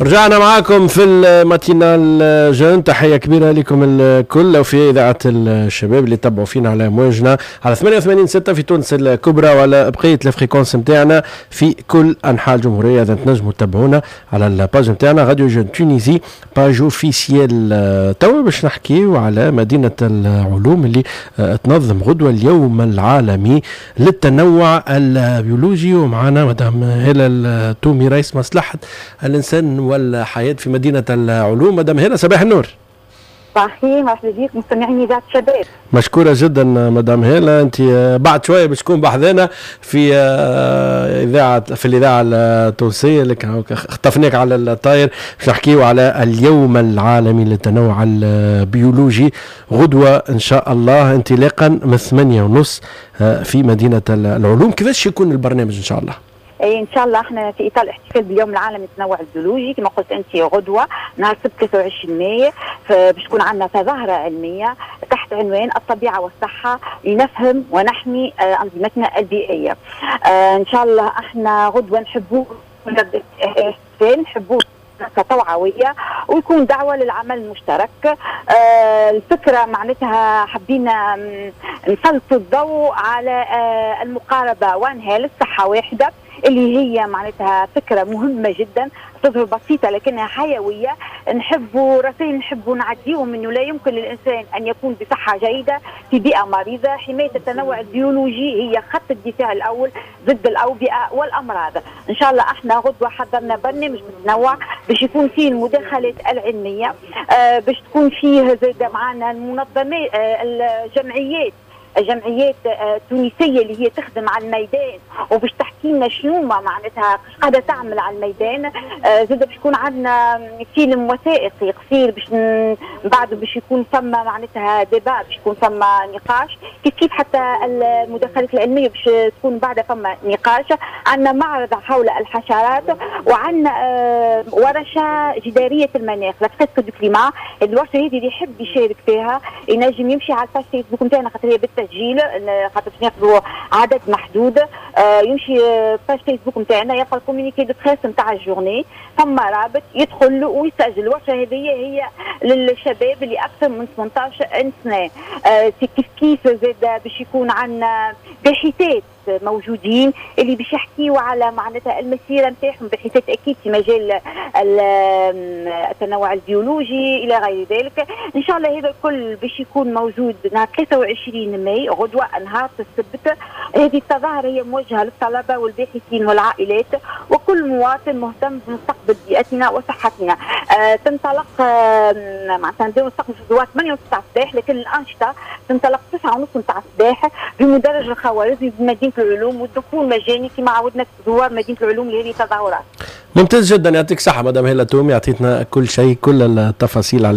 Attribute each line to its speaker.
Speaker 1: رجعنا معاكم في ال matinale jeune. تحية كبيرة لكم الكل وفي إذاعة الشباب اللي تبعوا فينا على موجنا على 88.6 في تونس الكبرى وعلى بقية ال fréquences نتاعنا في كل أنحاء الجمهورية. إذا تنجموا تتابعونا على ال page نتاعنا Radio Jeunes Tunisie page officielle. توا باش نحكيو على مدينة العلوم اللي تنظم غدوة اليوم العالمي للتنوع البيولوجي، ومعنا مدام هالة التومي رئيس مصلحة الإنسان والحياة في مدينة العلوم. مدام هالة، صباح النور.
Speaker 2: صباح مرحبا بك مستمعين إذاعة الشباب.
Speaker 1: مشكورة جدا مدام هالة، أنت بعد شوية باش تكون بحذانا في إذاعة في الإذاعة التونسية، لكن خطفناك على الطاير باش نحكيو على اليوم العالمي للتنوع البيولوجي غدوة إن شاء الله انطلاقا من 8:30 في مدينة العلوم. كيفاش يكون البرنامج إن شاء الله؟
Speaker 2: اي ان شاء الله احنا في اطار الاحتفال باليوم العالمي للتنوع البيولوجي كما قلت انت غدوه نهار السبت 23 ماي باش تكون عندنا تظاهرة علمية تحت عنوان الطبيعة والصحة لنفهم ونحمي انظمتنا البيئيه. ان شاء الله احنا غدوه نحبوه نحبوه توعوية ويكون دعوه للعمل المشترك. الفكرة معناتها حبينا نسلط الضوء على المقاربة One Health، صحة واحده، اللي هي معناتها فكرة مهمة جدا، تظهر بسيطة لكنها حيويه. نحبوا رسائل نحبوا نعديهم انه لا يمكن للانسان ان يكون بصحة جيدة في بيئة مريضه. حماية التنوع البيولوجي هي خط الدفاع الاول ضد الاوبئة والامراض. ان شاء الله احنا غدوه حضرنا برنامج متنوع باش يكون فيه المداخلات العلميه، باش تكون فيه زاد معنا المنظمات، الجمعيات التونسية اللي هي تخدم على الميدان وباش تحكي لنا شنو ما معناتها قاعدة تعمل على الميدان. زاد باش يكون عندنا فيلم وثائقي قصير باش من بعد باش يكون ثم معناتها débat، باش يكون ثم نقاش كيف كيف، حتى المداخلات العلمية باش تكون بعدها فما نقاش. عندنا معرض حول الحشرات وعندنا ورشه جداريه المناخ، la fresque du climat. الورشة هذه اللي يحب يشارك فيها ينجم يمشي على ال page فيسبوك نتاعنا خاطر هي بالتسجيل، خاطر باش ناخذوا عدد محدود. يمشي page فيسبوك نتاعنا يلقى ال communiqué de presse نتاع ال journée، ثم رابط يدخل ويسجل. الورشة هذه هي للشباب اللي اكثر من 18 سنه. كيف كيف زاد باش يكون عندنا باحثات موجودين اللي باش يحكيوا على معناتها المسيرة نتاعهم، باحثات اكيد في مجال التنوع البيولوجي الى غير ذلك. ان شاء الله هذا الكل باش يكون موجود نهار 23 ماي غدوه نهار السبت. هذه التظاهرة هي موجهة للطلبة والباحثين والعائلات وكل مواطن مهتم بمستقبل بيئتنا وصحتنا. تنطلق معناتها نبداو نستقبل في الزوار 8 و9 الصباح، لكن الانشطة تنطلق 9:30 نتاع الصباح بمدرج الخوارزمي بمدينة العلوم، والدخول مجاني كما عودنا زوار مدينة العلوم لهذه التظاهرات.
Speaker 1: ممتاز جدا، يعطيك صحة مدام هالة تومي، اعطيتنا كل شيء، كل التفاصيل على